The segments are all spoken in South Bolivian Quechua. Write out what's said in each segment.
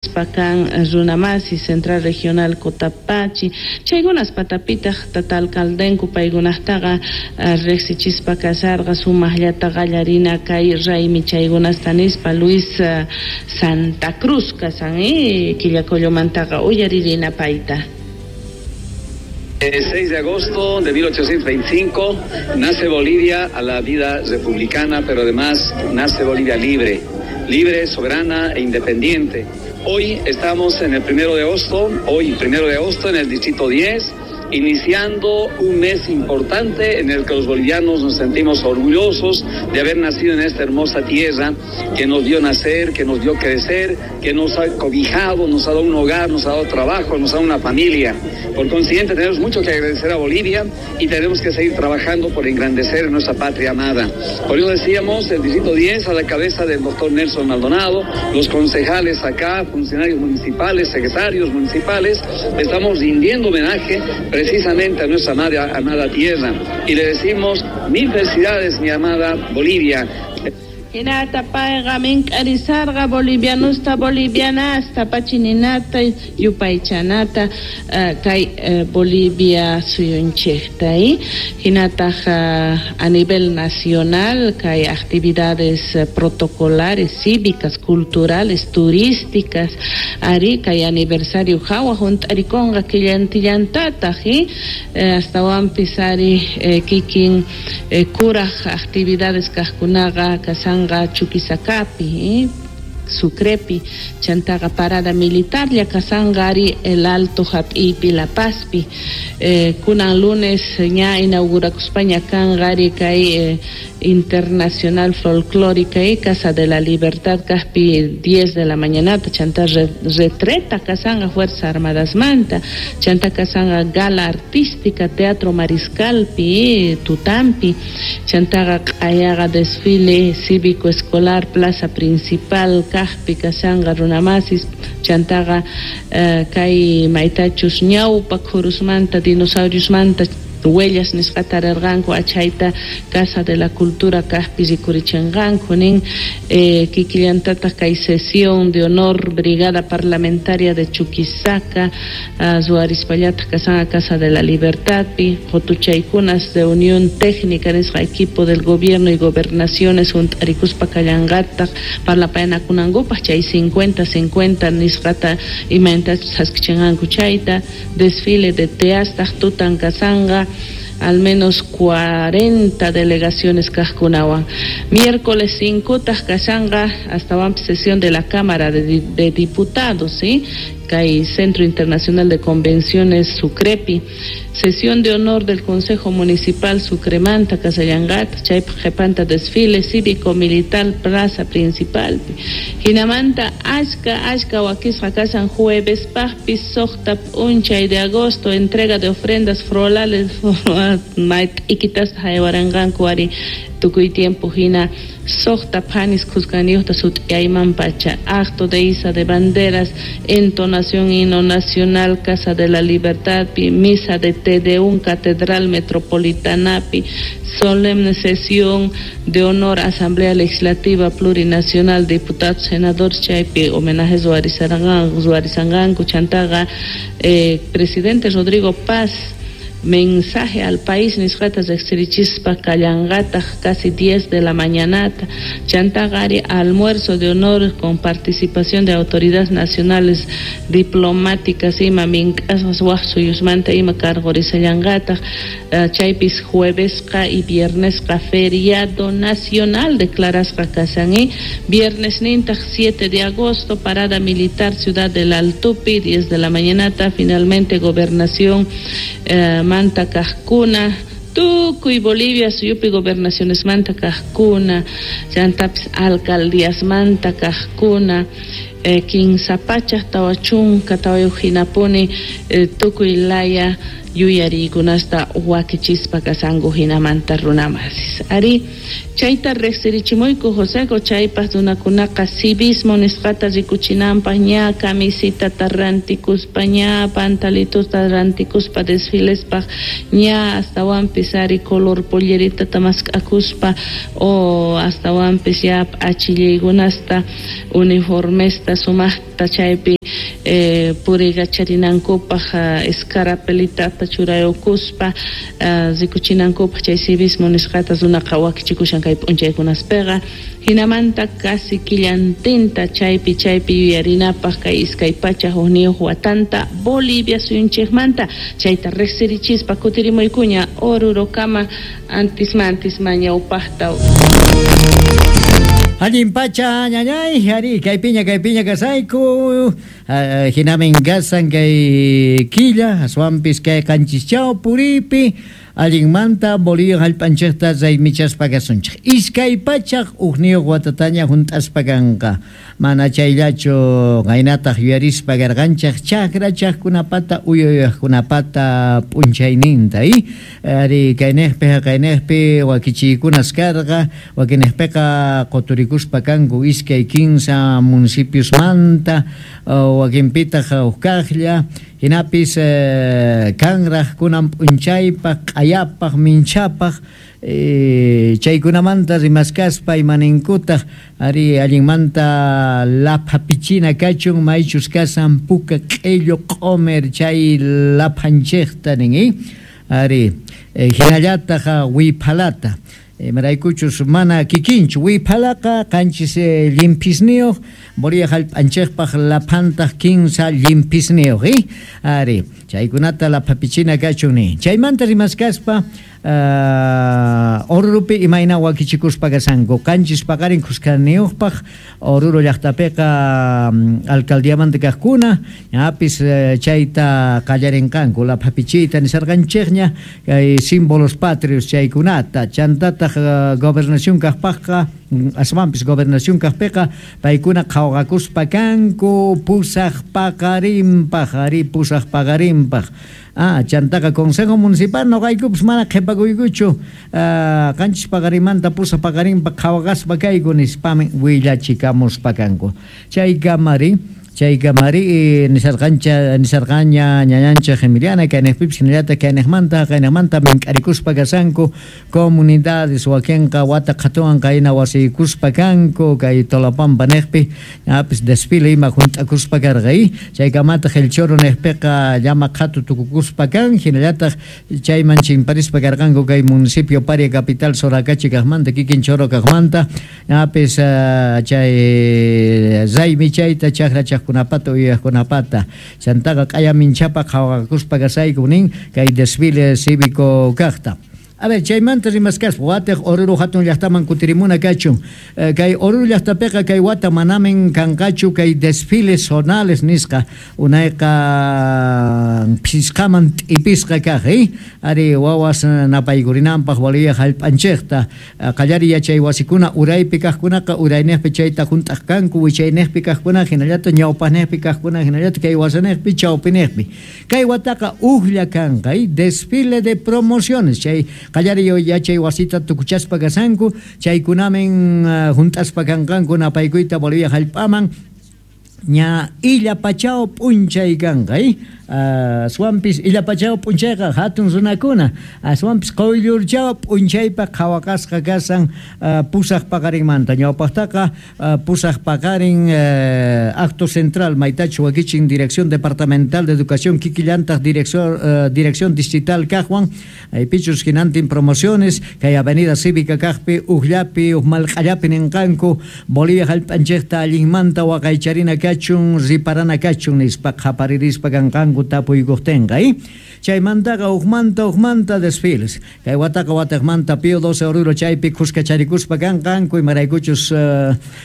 Kan runamasi Central Regional Cotapachi chaykunas patapitaq tata alcaldenku paykunaqtaqa riqsichispa kasarqa sumaqllata qallarina kay raymi chaykunasta nispa Luis Santa Cruz kasan Quillacollomantaqa uyaririna payta. El 6 de agosto de 1825 nace Bolivia a la vida republicana, pero además nace Bolivia libre, libre, soberana e independiente. Hoy estamos en el 1 de agosto, hoy 1 de agosto en el distrito 10, iniciando un mes importante en el que los bolivianos nos sentimos orgullosos de haber nacido en esta hermosa tierra que nos dio nacer, que nos dio crecer, que nos ha cobijado, nos ha dado un hogar, nos ha dado trabajo, nos ha dado una familia. Por consiguiente, tenemos mucho que agradecer a Bolivia y tenemos que seguir trabajando por engrandecer nuestra patria amada. Por eso decíamos, el distrito 10 a la cabeza del doctor Nelson Maldonado, los concejales acá, funcionarios municipales, secretarios municipales, estamos rindiendo homenaje precisamente a nuestra amada, amada tierra. Y le decimos mil felicidades, mi amada Bolivia. Hinata payqa mink'arisarqa bolivianusta bolivianasta pachininata yupaychanata kay Bolivia suyunchikta hinataq a nivel nacional kay actividades protocolares, cívicas, culturales, turísticas ari kay aniversario hawa hunt'arikunqa killantillantataq astawanpis ari kikin kuraj actividades kaqkunaqa kasanqa Chuquisacapi, Sucrepi, chantaqa parada militar kasanqa ari El Alto hap'iypi La Pazpi, kunan lunes ña inaugurakuspaña kanqa ari kay Internacional Folclórica Casa de la Libertad kaqpi 10 de la mañanata, chanta retreta kasanqa Fuerzas Armadas manta, chanta kasanqa gala artística Teatro Mariscalpi, Tutampi, chantaqa q'ayaqa desfile cívico escolar Plaza Principal kaqpi kasanqa runamasis, chantaqa kay maytachus ñawpa khurusmanta dinosauriosmanta huellas nisqata rirqanku achayta Casa de la Cultura kaqpi rikurichinqanku nin kikillantataq kay sesión de honor Brigada Parlamentaria de Chuquisaca ruwarispallataq kasanqa Casa de la Libertadpi qutuchaykunas de Unión Técnica nisqa equipo del gobierno y gobernaciones hunt'arikuspa kallanqataq parlapayanakunankupaq chay 50-50 nisqata imaynatachus thaskichinqanku chayta desfile de teastaq tutan kasanqa al menos 40 delegaciones kaqkunawan. Miércoles 5 taq kashanqa astawanpis sesión de la Cámara de Diputados, ¿sí? Kay Centro Internacional de Convenciones Sucrepi, sesión de honor del Consejo Municipal Sucremanta kasallanqataq, chaypaq qhipanta desfile cívico militar Plaza Principalpi. Hinamanta achka achka wakisqa kashan juevespaqpis suqta p'unchay de agosto entrega de ofrendas florales mayt'ikitasta haywaranqanku ari tukuy tiempo hina suqta phanis khuskaniyuqta sut'iyayman pacha, acto de iza de banderas, entonación himno nacional Casa de la Libertadpi, misa de Te Deum Catedral Metropolitanapi, solemne sesión de honor Asamblea Legislativa Plurinacional, diputados, senadores chaypi homenajes ruwarisanqanku chantaqa presidente Rodrigo Paz mensaje al país nisqata riqsirichispa kallanqataq casi 10 de la mañanata, chantaqa ari almuerzo de honor con participación de autoridades nacionales diplomáticas ima mink'asqas waq suyusmanta ima cargorisallanqataq chaypis juevesqa y viernesqa feriado nacional declarasqa kashan viernes nintaq 7 de agosto parada militar Ciudad del Altopi 10 de la mañanata finalmente gobernación manta kaqkuna tukuy Bolivia suyupi gobernaciones manta kaqkuna chantapis alcaldías manta kaqkuna kinsa pachaq tawa chunka tawayuq hinapuni tukuy laya yuyariykunasta wakichispa kasanku hinamanta runamasis. Ari chayta riqsirichimuyku Joseco chaypaq runakunaqa civismo nisqata rikuchinanpaq ña camisitata rantikuspa ña pantalitusta rantikuspa desfilespaq ña astawanpis ari color polleritata mask'akuspa o astawanpis ya p'achillaykunasta uniformesta Sumajta sumajta chaypi puriykacharinankupaj escarapelitata churayukuspa rikuchinankupaj chay civismo nisqata runaqa wakichikushan kay p'unchaykunaspeqa hinamanta casi killantinta chaypi chaypi yuyarinapaj kay 201 watanta Bolivia suyunchikmanta chayta riqsirichispa kutirimuykuña Orurokama antisma ñawpaqta. Allin pacha ñañay, ari kaypiña kaypiña kasayku, hinamin kasan kay killa, aswanpis kay qanchischaw puripi, allinmanta Bolivia hallp'anchikta raymichaspa kasunchik. 201 watataña hunt'aspa kanqa. Mana chayllachu qaynataq yuyarispa karqanchik chakra chaqkunapata uyuyaqkunapata p'unchayninta ari kayniqpi haqayniqpi wakichiykunas karqa wakiniqpiqa quturikuspa kanku 2-3 municipiosmanta wakinpitaq huk kaqlla hinapis kanraq kunan p'unchaypaq q'ayapaq minchapaq chaykunamanta rimaskaspa imaninkutaq ari allinmanta laphapichina kachun maychus kasan puka q'illu q'umir chay laphanchikta nin ari hinallataq wiphalata imaraykuchus mana kikinchu wiphalaqa qanchis llimpisniyuq Bolivia hallp'anchikpaq laphantaq 15 llimpisniyuq ari chaykunata laphapichina kachun nin chaymanta rimaskaspa Orurupi imayna wakichikuspa kasanku qanchis paqarin khuskaniyuqpaq Oruro llaqtapiqa alcaldiamanta kaqkuna ñapis chayta qallarinqanku laphapichiyta nisarqanchikña kay símbolos patrios chaykunata chantataq gobernación kaqpaqqa aswanpis gobernación kaqpiqa paykuna qhawqakuspa kanku pusaq paqarinpaq ari pusaq paqarinpaq chantaqa consejo municipal noqaykupis mana qhipakuykuchu qanchis paqarinmanta pusaq paqarinpaq qhawaqaspa kayku nispami willachikamuspa kanku chaykamari nisarqancha nisarqaña ñañanchik Emiliana kayniqpipis hinallataq kayniqmanta haqayniqmanta mink'arikuspa kasanku comunidades wakinqa wata qhatuwan qayna wasiykuspa kanku kay Tolapampa niqpi ñapis desfile ima hunt'akuspa karqa chaykamataq El Choro niqpiqa llama qhatu tukukuspa kan hinallataq chayman chimparispa karqanku kay municipio Paria capital Soracachi kaqmanta kikin Choro kaqmanta ñapis chay raymi chayta chakra chaqkunapata uyaqkunapata chantaqa q'aya minchapa qhawaqakuspa kasayku nin kay desfile cívico kaqta. A ver, chaymanta rimaskaspa watiq Oruro hatun llaqtaman kutirimuna kachun kay Oruro llaqtapiqa kay wata manamin kanqachu kay desfiles zonales nisqa unayqa phisqaman t'ipisqa kaq ari wawas napaykurinanpaq Bolivia hallp'anchikta qallari yachay wasikuna uraypi kaqkunaqa urayniqpi chayta hunt'aq kanku wichayniqpi kaqkuna hinallataq ñawpaqniqpi kaqkuna hinallataq kay wasaniqpi chawpiniqpi kay wataqa ujlla kanqa desfile de promociones chay qallari yachay wasita tukuchaspa kasanku chaykunamin hunt'aspa kanqanku napaykuyta Bolivia hallp'aman ña illapachao p'unchay kanqa aswanpis illapachao p'unchayqa hatun runakuna aswanpis quyllurchao p'unchaypaq qhawaqasqa kasan pusaq paqarinmanta ñawpaqtaqa pusaq paqarin acto central maytachu wakichin Dirección Departamental de Educación kikillantaq Dirección Distrital kaqwan aypichus hinantin promociones kay Avenida Cívica kaqpi ujllapi uj malq'allapi ninqanku Bolivia hallp'anchikta allinmanta waqaycharina kachun riparana kachun nispa qhaparirispa kanqanku tapuykuqtinqa chaymantaqa ujmanta desfiles kay wataqa watiqmanta Pío XII Oruro chaypi khuskacharikuspa kanqanku imaraykuchus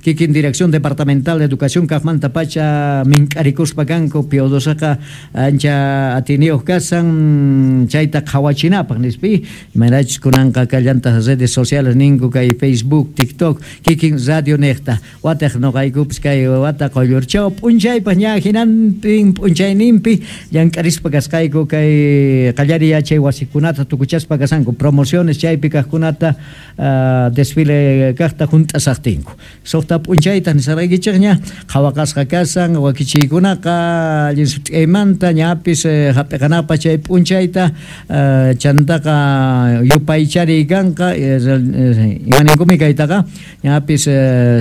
kikin Dirección Departamental de Educación kaqmanta pacha mink'arikuspa kanku Pío XIIqa ancha atiniyuq kasan chayta qhawachinapaq nispi imaraychus kunanqa kallantaq redes sociales ninku kay Facebook, TikTok kikin radio niqta watiq noqaykupis kay wata quyllurchaw p'unchaypaq ña hinantin p'unchayninpi Llank'arispa kasqayku kay qallariy yachay wasikunata tukuchaspa kasanku promociones chaypi kajkunata desfile kajta junt'asajtinku. Suqta p'unchayta nisaraykichikña qhawaqasqa kasan wakichiykunaqa allin sut'iymanta ñapis jap'iqanapaq chay p'unchayta chantaqa yupaychariy kanqa imaninkumi kaytaqa ñapis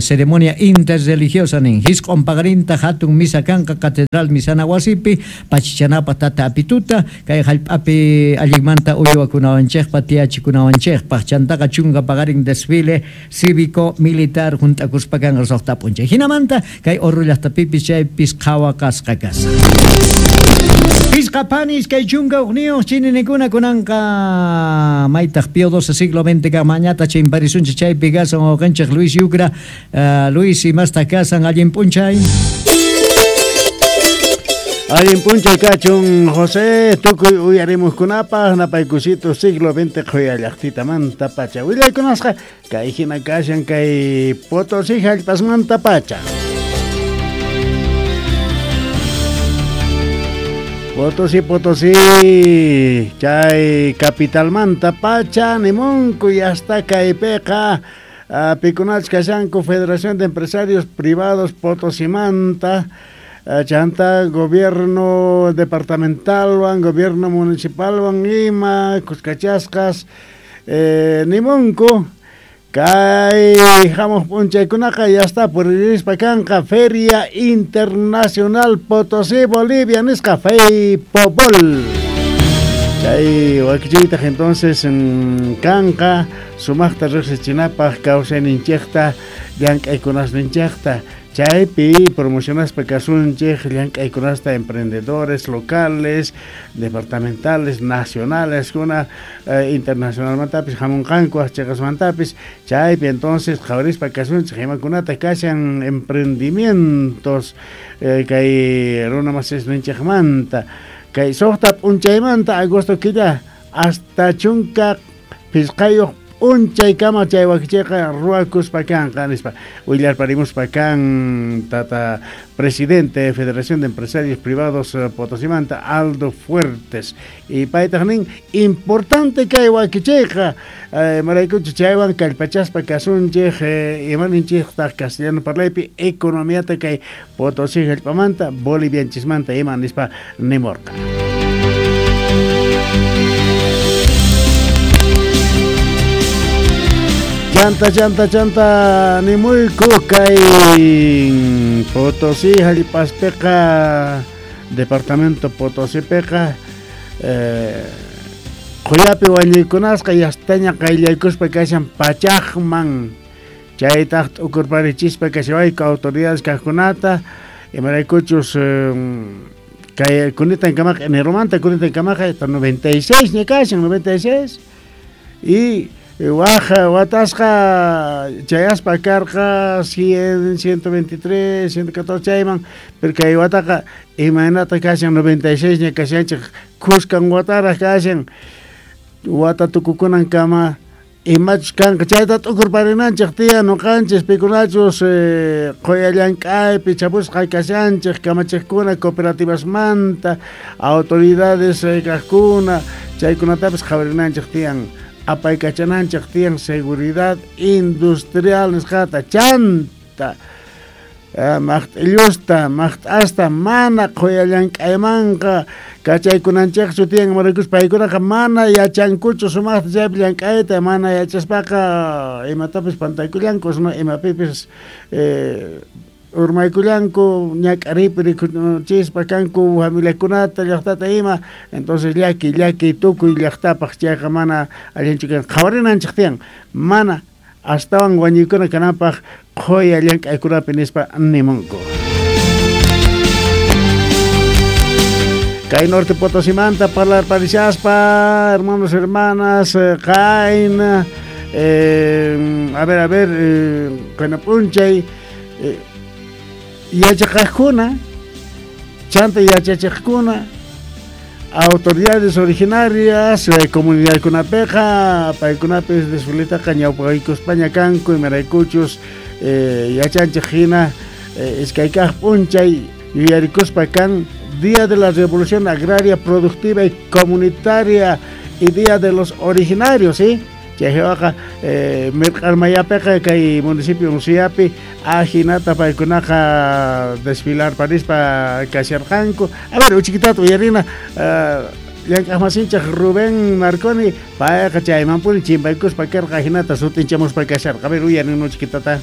ceremonia interreligiosa nin jisq'un paqarinta hatun misa kanqa catedral misana wasipi pachichanapaq tata apituta kay jallp'api allinmanta uywakunawanchikpaq tiyachikunawanchikpaq chantaqa chunka paqarin desfile cívico militar junt'akuspa kanqa suqta p'unchay hinamanta kay Oruro llaqtapipis chaypis qhawaqasqa kasqa. Pisqa panis kay chunka uqniyuq chininikuna kunanqa maytaq Pío XII siglo XX kaq mañata chimparisunchik chaypi kasan wawqinchik Luis Yucra. Luis, imastaq kasan allin p'unchay. Allin p'unchay kachun José, tukuy uyarimuqkunapaq napaykusito siglo XX qhuya llaqtitamanta pacha. Willaykunasqa kay hina kashan kay Potosí hallp'asmanta pacha. Potosí, Potosí, chay capitalmanta pacha nimunku y hasta kaypiqa pikunachus kashanku Federación de Empresarios Privados Potosimanta, chanta gobierno departamentalwan, gobierno municipalwan ima, kuskachasqas, nimunku kay hamuq p'unchaykunaqa ya está puririspa kanqa Feria Internacional Potosí Bolivia nisqa FEIPOBOL. Chay wakichiytaq entonces kanqa sumaqta riqsichinapaq kawsayninchikta llank'aykunasninchikta chaypi promocionaspa kasunchik llank'aykunasta emprendedores locales, departamentales, nacionales kuna internacionalmantapis hamunqanku chiqasmantapis chaypi entonces qhawarispa kasunchik imakunata kashan emprendimientos kay runa masisninchikmanta kay suqta p'unchaymanta agosto killa hasta chunka phisqayuq p'unchaykama chay wakichiyqa ruwakuspa kanqa nispa willarparimuspa kan tata presidente de Federación de Empresarios Privados Potosimanta Aldo Fuertes y paytaq nin importante kay wakichiyqa maraykuchu chaywan kallpachaspa kasunchik imaninchiktaq castellano parlaypi economiata kay Potosí hallp'amanta Bolivianchismanta ima nispa nimurqa. Chanta, chanta, chanta, nimuyku kay Potosí hallp'aspiqa departamento Potosípiqa qhuyapi wañuykunasqa yastaña qayllaykuspa kashan pachaqman chaytaq t'ukurparichispa kashawayku autoridades kaqkunata imaraykuchus kay kunitan kamaqa eneromanta kunitan kamaqa 96 ña kashan 96 y waja watasqa chayaspa karqa 100, 123, 114 chayman pero kay wataqa imaynata kashan 96 ña kashanchik kuskan wataraq kashan wata tukukunan kama imachus kanqa chayta t'ukurparinanchik tiyan nuqanchis pikunachus qhuya llank'aypi chapusqa kashanchik kamachiqkuna cooperativasmanta autoridades kaqkuna chaykunatapis qhawarinanchik tiyan apaykachananchik tiyan seguridad industrial nisqata chanta maqt'illusta maqt'asta mana qhuya llank'aymanqa kachaykunanchikchu tiyan imaraykuchus paykunaqa mana yachankuchu sumaqta chaypi llank'ayta mana yachaspaqa imatapis pantaykullanku sino imapipis urmaykullanku ñak'aripi rikuchispa kanku familiakunata llaqtata ima entonces llaki llaki tukuy llaqtapaq chayqa mana allinchu kan qhawarinanchik tiyan mana astawan wañuykuna kananpaq qhuya llank'aykunapi nispa nimunku. Kay Norte Potosimanta parlarparishaspa hermanos hermanas qayna a ver qayna p'unchay yachaqaqkuna chanta yachachiqkuna autoridades originarias comunidadkunapiqa paykunapis desfiletaqa ñawpaqaykuspaña kanku imaraykuchus yachanchik hina iskaykaq p'unchay yuyarikuspa kan Día de la Revolución Agraria Productiva y Comunitaria y Día de los Originarios, ¿sí? Chaywaqa mirq'armayapiqa kay municipio Unciapi ajinata paykunaqa desfilar parispa kasharqanku. A ver, uchikitata uyarina llank'aqmasinchik Rubén Marconi payqa chaymanpuni chimpaykuspa karqa ajinata sut'inchamuspa kasharqa. A ver, uyarin uchikitata.